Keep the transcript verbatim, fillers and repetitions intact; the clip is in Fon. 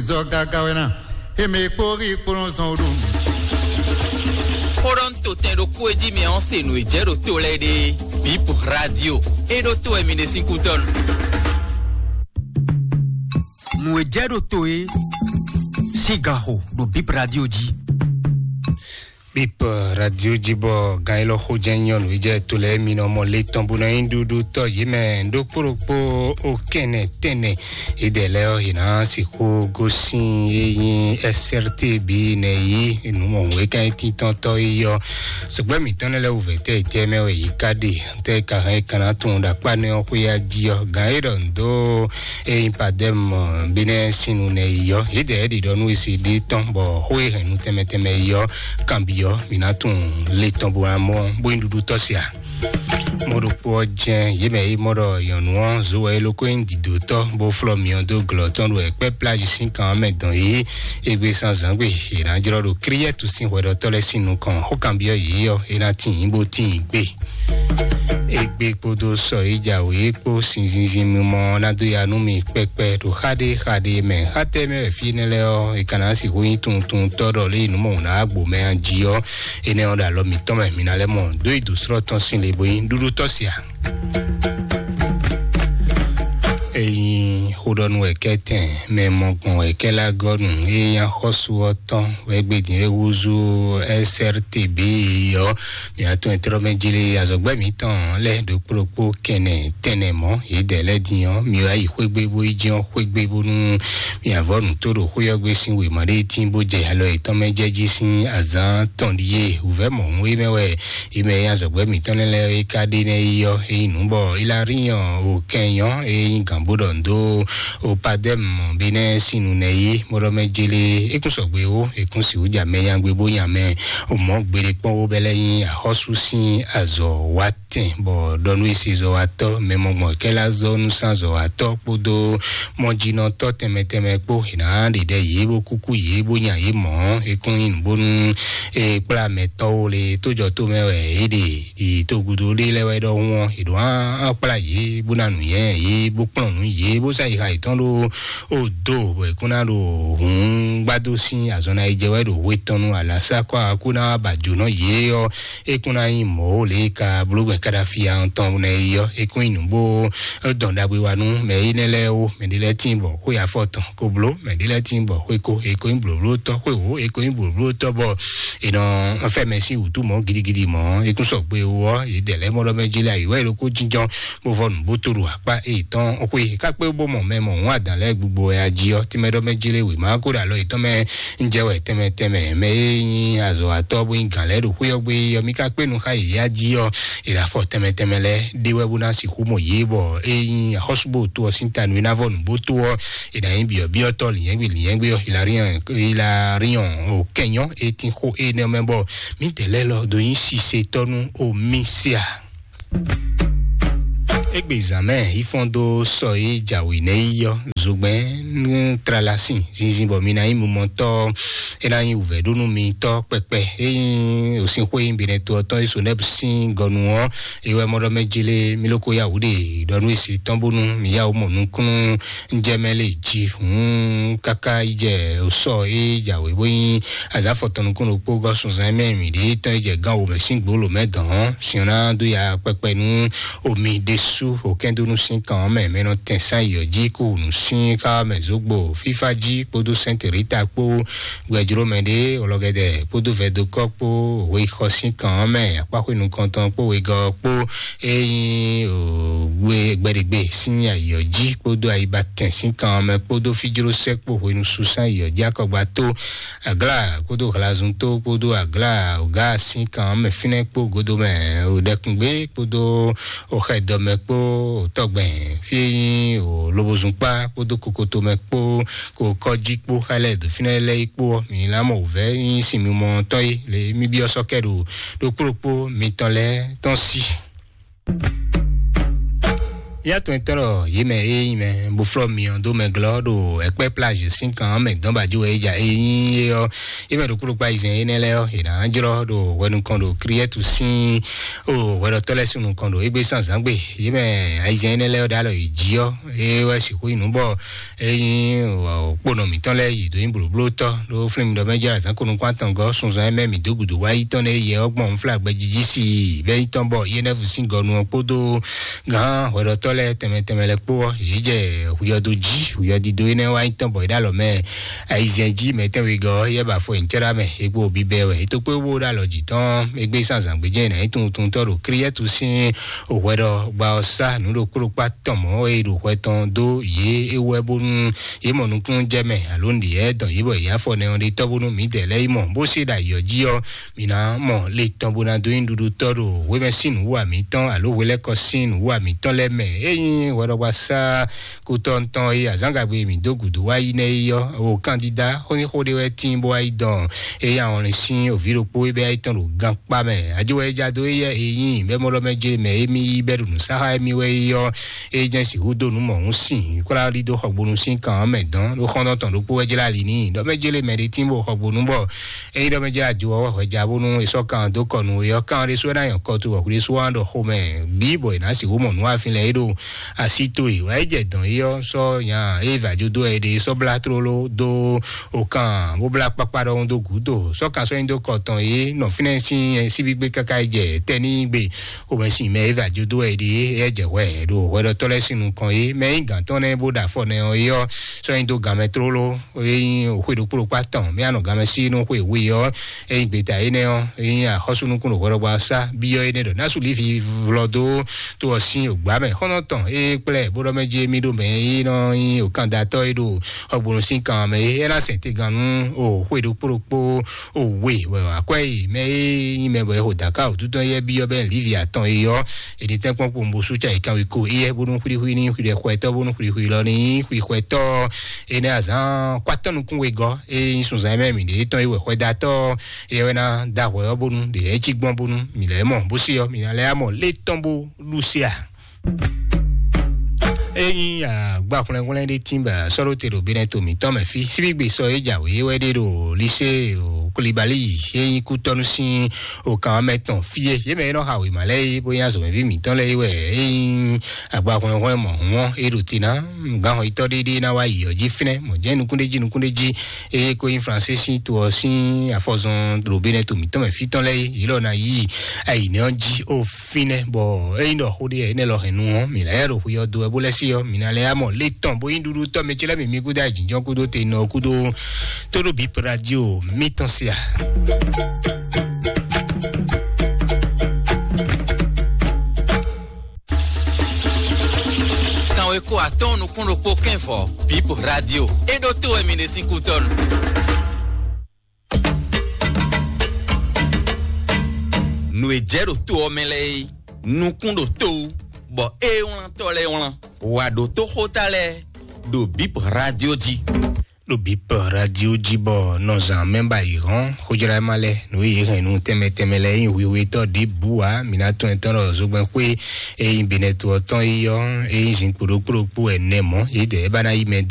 Zɔ gaga wɛ ná. Eme kpó rí kpó nɔ zɔn ɖo. Xó ɖɔ ń to tɛn ɖokpó e jí mi ɔ́ se nǔ e jɛ ɖo to lɛ́ɛ ɖe. Bip Radio e ɖo to wɛ mi ɖe sín kútɔ́ nu. Nǔ e jɛ ɖo to e sín gan xo ɖo Bip Radio jí. Bip Radio jí bɔ gan élɔ́ xó jɛ́n nyɔ́nú yi jɛ to lɛ́ɛ mi nɔ mɔ le tɔn bó ná nyí ɖuɖu tɔ́ yě mɛ ɖokpó ɖokpó o kɛnɛ tɛnɛ. Idɛ lɛ́ɛ ɔ́, yě ná sixú gosín e nyí S R T B nɛ yí nǔ mɔ̌hun e ka nyí tíntɔ́ntɔ́ yi ɔ́. Sɔgbɛ́ mǐtɔn lɛ́ɛ lɛ́ɛ wǔvɛ́ tɛ́ tɛ́ mɛ wɛ yě ká ɖe, tɛ́ ka hɛn é ka ná tunwun ɖo akpá nɛ́ ɔ́ xwé ya jí ɔ́, gǎn e ɖɔ nǔ dó e nyí Padɛ́m Benɛ́ sín nu nɛ yi ɔ́, yě dɛ ɖiɖɔ nú esi ɖi tɔn bɔ xó e hɛn nu tɛnmɛ tɛnmɛ yi ɔ́, kanbyɔ́ mǐ ná tunwun le tɔn bó ná mɔ bó nyí ɖuɖu tɔ́ sia. Mɔ ɖokpó ɔ́ jɛ́n yě mɛ e mɔ ɖɔ nyɔ̌nu ɔ́ zo wɛ é lókó nyí dǐdótɔ́ bó flɔ́ myɔ dó glɔ̌ tɔn ɖo ɛkpɛ́ plázhi sín kan ɔ́ mɛ dɔn yí égbé zán zǎngbe è nǎ jlɔ́ ɖo Klíɛ́tu sín hwɛɖɔtɔ́ lɛ́ɛ sín nukɔn. Xó kanbyɔ́ yě ɔ́, é ná tíin bó tíin gbé. Égbé kpódó sɔ e jǎwe kpó sinzinzin mimɔ ná dó ya nú mi kpɛkpɛ ɖo xá ɖé xá ɖé mɛ. Xá tɛ́ mɛ wɛ fí énɛ́ lɛ́ɛ ɔ́, è ka ná sixú nyí tuntuntɔ́ ɖɔ lé nǔ mɔ wǔ ná wá gbo mɛ a jí ɔ́, énɛ́ ɔ́ ɖo alɔ mǐtɔn mɛ, mǐ ná lɛ́ mɔ dó yi dǒ slɔ́ tɔn sín le bó nyí ɖúɖú tɔ́ sia. Eyin xó ɖɔ nú wɛ kɛ́tɛn mɛ mɔ gbɔn wɛ kɛ́ lá gɔ́ nǔ e nyí axɔ́sú ɔ́ tɔn wɛ gbedin e húzú S R T B ɔ́, mǐ atɔn e tlɔ́ mɛ jlé azɔ̌gbɛ́ mǐtɔn lɛ́ɛ ɖokpó ɖokpó kɛnɛ tɛnɛ mɔ̌ yědɛɛ lɛ́ɛ din ɔ́, mi wá yi xwé gbe bó yi jɛ́n xwé gbe bónú mi avɔ nǔ tó ɖo xwé ɔ́ gbe sín wěma ɖé tín bó jɛ alɔ yětɔn mɛ jɛ jí sín azǎn tɔn ɖíe. Wǔvɛ́ mɔ̌hun é mɛ wɛ é mɛ e azɔ̌gbɛ́ mǐtɔn lɛ́ɛ lɛ́ɛ é ka ɖe nɛ́ yi ɔ́, é nyí nǔ bɔ Ilariɔn o kɛnyɔ é nyí gǎn bó ɖɔ nǔ dó o Padɛ́mu Benɛ́ sín nu nɛ́ yí, bó ɖɔ mɛ jélé é kún sɔgbe ó, é kún sixú ja mɛ nyagbe bó nya mɛ o mɔ̌ gbeɖé kpɔ́n ó bɛ́ lɛ́ nyí axɔ́sú sín azɔ̌ wa tɛn, bɔ ɖɔ nú isezɔ́watɔ́ mɛ mɔgbɔn kɛ́ lá zɔ́ nú sánzɔ́watɔ́ kpódó mɔjínɔtɔ́ tɛnmɛ tɛnmɛ kpó, è nǎ ɖe ɖɛ yě bó kúkú yě bó nya yě mɔ̌. É kún nyí nǔ bónú é kplá mɛtɔ́ wo le tójɔtó mɛ wɛ é ɖe yi togudo ɖé lɛ́ɛ wɛ ɖɔhun ɔ́, è ɖǒ á kplá yě bó ná nǔnywɛ́ yě bó kplɔ́n nǔ yě bó sá yi xa yětɔn ɖó ó do, bɔ è kún ná ɖo hǔn gbádó sín azɔn ná yi jɛ wɛ ɖo hwe tɔn nu alǎsá kɔ́ akú ná wá ba jǒnɔ yě ɔ́, é kún ná nyí mɔ̌ ó lě e ka bló gbɛn Kadafi tɔn nɛ é ɔ́, é kún nyí nǔ bó dɔn ɖagbe wa nú mɛ énɛ́ lɛ́ɛ ó. Mɛ ɖé lɛ́ɛ tíin bɔ xwé afɔ tɔn ko bló, mɛ ɖé lɛ́ɛ tíin bɔ xwé ko, é ko nyí blǒblótɔ́, xwé wǒ, é ko nyí blǒblótɔ́ bɔ è nɔ fɛ mɛ sín wǔtu mɔ̌ gidigidi mɔ̌. É kún sɔgbe ó ɔ́, yě dɛ lɛ́ɛ mɔ ɖɔ mɛ jélé ayǐ wɛ é ɖokó jínjɔ́n bó vɔ nǔ bó tó ɖo akpá éyětɔn xwé kákpé bó mɔ mɛ mɔ hǔn adǎn lɛ́ɛ gbogbo wɛ ají ɔ́, tínmɛ ɖɔ mɛ jélé wěma kó ɖo alɔ yětɔn mɛ ń jɛ wɛ tɛnmɛ tɛnmɛ mɛ e nyí azɔ̌watɔ́ bó nyí gǎn lɛ́ɛ ɖo xwé ɔ́ gbé ɔ́, mí ka kpé nu xá yě yá jí ɔ́, è ɖo afɔ tɛnmɛ tɛnmɛ lɛ́ɛ ɖé wɛ bó ná sixú mɔ yě, bɔ é nyí axɔ́súgbó to ɔ́ sín ta nú é ná vɔ nǔgbó tó ɔ́, è nǎ nyí byɔ̌byɔ́tɔ́ lǐnyɛ́gbé lǐnyɛ́gbé ɔ́, Hilariɔn Hilariɔn o kɛnyɔ é tín xó énɛ́ mɛ bɔ mǐdɛɛ lɛ́ɛ lɔ dó nyí sisetɔ́ nú omi sia. Égbé zǎn mɛ yi fɔ́n dó sɔ e jǎwe nɛ́ yi ɔ́, zogbɛ́n nú tlalasin zinzin bɔ mi ná nyí mumɔtɔ́, é ná nyí wǔvɛ́ ɖó nú mi tɔ́ kpɛkpɛ. É nyí òsínxó e nyí Benɛto ɔ́ tɔn e Sonɛ́bu sín gɔnu ɔ́, é wɛ mɔ ɖɔ mɛ jélé mi ló ko yá wǔ ɖe ɖɔ nú èsì tɔn bónú mi yá wǔ mɔ nukúnnú ń jɛ mɛ lé jí hǔn káká yi jɛ òsɔ e jǎwe bó nyí azǎfɔ tɔn nukún ɖokpó gɔ́ sunzan mɛ mǐ ɖě tɔn yi jɛ gán wǒ mɛ sín gbǒ lǒ mɛ dɔn ɔ́, sin ɔ́ ná dó ya kpɛkpɛ nú omi ɖésú òkɛ́ndónú sín kan ɔ́ mɛ mɛ nɔ tɛn sán yi ɔ́ jí kó nǔ sín xá mɛ zǒgbo fífá jí kpódó sɛ́ntɛ̀rítà kpó gbɛjló mɛ ɖé olɔgɛdɛ kpódó vɛdokɔ kpó weyixɔ sín kan ɔ́ mɛ akpáxwé nukɔntɔn kpó wegɔ́ kpó é nyí gbɛɖegbe sín ayǐ ɔ́ jí kpódó ayibatɛn sín kan ɔ́ mɛ kpódó fíjlósɛ́ kpó hwenu susán ayǐ ɔ́ jí akɔgba tó aglá kpódó hlazun tó kpódó aglá ògá sín kan ɔ́ mɛ fínɛ́ kpó godo mɛ òɖɛkùngbé kpódó òxɛdɔmɛ kpó òtɔgbɛn fí é nyí òlobozùnkpá kpódó kokotomɛ kpó kó kɔ́jí kpó xá lɛ́ɛ dǒ fínɛ́ lɛ́ɛ yi kpó ɔ́, mi lá mɔ wǔvɛ́ nyí sin mimɔ tɔn é lě mí byɔ́ sɔ́ kɛ ɖo ɖokpó ɖokpó mitɔn lɛ́ɛ tɔn sí. Yá tɔn tɔn ɖɔ yě mɛ e nyí mɛ bó flɔ́ myɔ dó mɛ glɔ́ ɖo ɛkpɛ́ plage sín kan mɛ dɔn ba jó e ja e nyí é ɔ́, yě mɛ ɖokpó ɖokpó ayizɛn énɛ́ lɛ́ɛ ɔ́, è nǎ jlɔ́ ɖo hwɛ nukɔn ɖo Kriɛ́tu sín o hwɛɖɔtɔ́ lɛ́ɛ sín nukɔn ɖo égbé sín azǎn gbe. Yě mɛ ayizɛn énɛ́ lɛ́ɛ ɔ́ ɖo alɔ yě jí ɔ́, é wɛ sixú nyí nǔ bɔ é nyí kponɔ mǐtɔn lɛ́ɛ yi dó nyí blǒblótɔ́ ɖó flín mi ɖɔ mɛ jɛ azǎn ko nukún atɔngɔ́ sunzan e mɛ mǐ dó gǔdo wá yi tɔn nɛ yɛ ɔ́ gbɔn nflá gbɛjiji sí bɛ́ nyí tɔn bɔ yé nɛ́ vú sín gɔnu ɔ́ kpódó gǎn hwɛɖɔtɔ́ lɛ́ɛ tɛnmɛ tɛnmɛ lɛ́ɛ kpó ɔ́, yě jɛ huyɔdo jí, huyɔdido énɛ́ wá nyí tɔn bɔ é ɖo alɔ mɛ ayizɛn jí mɛ tɛnwegɔ́ yɛ ba fɔ nyǐcɛ́ɖá mɛ é kpó bíbɛ wɛ é tó kpé bó ɖo alɔ jǐ tɔn égbé sín azǎn gbé jɛ nǎ nyí tunwuntuntɔ́ ɖo Kriɛ́tu sín hwɛɖɔgba ɔ́ sá nǔ ɖokpó ɖokpó atɔn mɔ̌ e ɖo hwɛ tɔn dó yě é wɛ bónú yě mɔ nukúnnú jɛ mɛ alo nǔɖiɖi lɛ́ɛ dɔn yě bɔ yě afɔ nɛ ɔ́ ɖe tɔ́ bónú mǐdɛɛ lɛ́ɛ yi mɔ bó se ɖo ayǐ ɔ́ jí ɔ́, mǐ ná mɔ le tɔn bó ná dó nyí nǔɖuɖutɔ́ ɖo hwemɛ sín nǔwiwa mǐtɔn alo hwelɛ́kɔ sín nǔwiwa mǐtɔn lɛ́ɛ mɛ. Ényí hwɛɖɔgbasá kutɔntɔn e azǎngagbe mǐ dó gǔdo wá yi nɛ́ é ɔ́, o kandida xó ní xó ɖé wɛ tíin bó wá yi dɔn ényí ahɔnlin sín òví ɖokpó é bɛ́ yi tɔn ɖo gankpá mɛ. Ajo wɛ é ja dó éyɛ́ e nyí bɛ́ mɔɖɔ mɛ jlé mɛ émí yí bɛ́ ɖo nǔsáxá émí wɛ é ɔ́, é jɛ́n sixú dó nǔ mɔ̌hun sin kwlá ɖidó xɔgbonu sín kan ɔ́ mɛ dɔn ɖó xɔ́ntɔn tɔn ɖokpó wɛ jlá ali n'i ɖɔ mɛ jlé mɛ ɖé tín bó xɔgbonu bɔ ényí ɖɔ mɛ jlá ajo ɔ́ wɛ hwɛja bónú è sɔ́ kan dó kɔ nú é ɔ́, kan ɖésú wɛ ná nyɔ kɔ tu wɔ hwɖésú wá ɖɔ xomɛ bǐ bɔ è nǎ sixú mɔ nǔ afin lɛ́ɛ é ɖo así towe wɛ é jɛ dɔn é ɔ́ sɔ́ nya é vǎ jó dó wɛ é ɖe sɔ́ blá tlóló dó o kan bó blá kpákpá ɖɔhun dó gǔdo sɔ́ kan sɔ́ nyi dó kɔ tɔn é nɔ fínɛ́ sín síbígbé káká é jɛ tɛ́ ní gbe xomɛsin mɛ é vǎ jó dó wɛ é ɖe é jɛ hwɛ ɖo hwɛɖɔtɔ́ lɛ́ɛ sín nukɔn é mɛ nyí gǎn tɔn nɛ́ bó ɖo afɔ nɛ ɔ́ é ɔ́ sɔ́ nyi dó gǎn mɛ tlóló é nyí xwe ɖokpó ɖokpó atɔn mɛ anɔ gǎn mɛ sí nú xwe we ɔ́ é nyí gbeta énɛ́ ɔ́ é nyí axɔ́súnukún ɖo hwɛɖɔgbá sá byɔ́ énɛ́ ɖɔ násu lívi vlɔ dó tó ɔ sín ògbá mɛ xɔ́nɔ tɔn é kplɛ́ bó ɖɔ mɛ jé mí ɖo mɛ é nɔ nyí òkandatɔ́ é ɖo xɔgbonu sín kan mɛ é é ná sɛn tegannú o xwe ɖokpó ɖokpó o we bɔ akwɛ́ yi mɛ é nyí mɛ bɔ é xo dǎká wǔtútɔ́ éyɛ́ byɔ́ bɛ́ lívi atɔn é ɔ́, è ní tɛ́nkpɔ́n kpowunbosú ca yi kanwekó éyɛ́ bónú xwlíxwí ní xwlɛxwɛtɔ́ bónú xwlíxwí lɔ ní xwixwɛtɔ́ énɛ́ azǎn kwatɔ́ nukún wegɔ́ é nyí sunzan mɛ mǐ ɖě tɔn é wɛ xwɛdatɔ́ é wɛ ná da hwɛ ɔ́ bónú ɖě é cí gbɔn bónú mǐ lɛ́ mɔ bó sí ɔ́ mǐ ná lɛ́ mɔ lé tɔn bó lú sí a. Ényí agba hwlɛnhwlɛn ɖé tín bɔ sɔ́ ɖó te ɖo Benɛto mǐtɔn mɛ fí síbígbe sɔ é jǎwe wɛ ɖé ɖo lise Kolibali ényí kútɔ́nú sín òkan mɛ tɔn fí é yě mɛ é nɔ xa wěma lɛ́ɛ é bó nyí azɔ̌mɛví mǐtɔn lɛ́ɛ é wɛ ényí agba hwlɛnhwlɛn mɔ̌hun ɔ́ é ɖo te ná gǎnhɔnyitɔ́ ɖé ɖé ná wá yi ɔ́ jí fínɛ́ mɔ̌ jɛ́n nukúnɖéjí nukúnɖéjí eye ko nyí Fransé sín to ɔ́ sín afɔzɔn ɖo Benɛto mǐtɔn mɛ fí tɔn lɛ́ɛ é yě lɔ ná yí ayǐnɛ́ ɔ́ jí ó fínɛ́ bɔ ényí ɖɔ xó ɖé énɛ́ lɔ hɛn nu ɔ́ mǐ ná yá ɖo xwe ɔ́ do wɛ bó lɛ́ sí ɔ́ mǐ ná lɛ́ yá mɔ lé tɔn bó nyí ɖuɖu tɔ́ mɛ ce lɛ́ɛ mǐ mí gúdo ayǐjínjɔ́n kúdó te nɔ kúdó tó ɖo bǐ radio mítɔn sí a. Kanweko atɔ́ɔ́n nukún ɖokpó kɛ́nvɔ bǐ radio é ɖó tó wɛ mi ɖe sín kútɔ́nu. Nǔ e jɛ ɖo to ɔ́ mɛ lɛ́ɛ é, nukún ɖo to wú, bɔ é wlántɔ́ lɛ́ɛ wlán. Wǎ ɖótó xóta lɛ́ɛ ɖo bǐ radio jí. Ɖo bǐ radio jí bɔ nɔzán mɛ ba yi hɔn xójlá ma lɛ nǔ e yě hɛn nú tɛnmɛ tɛnmɛ lɛ yin hwihwetɔ́ ɖěbǔ ǎ. Mǐ ná tɔn ɛtɔn ɖɔ zogbɛn xwé e yin Benɛto ɔ́ tɔn yi ɔ́, e yin zinkpo ɖokpó ɖokpó ɛnɛ mɔ̌, yědɛɛ é ba ná yi mɛ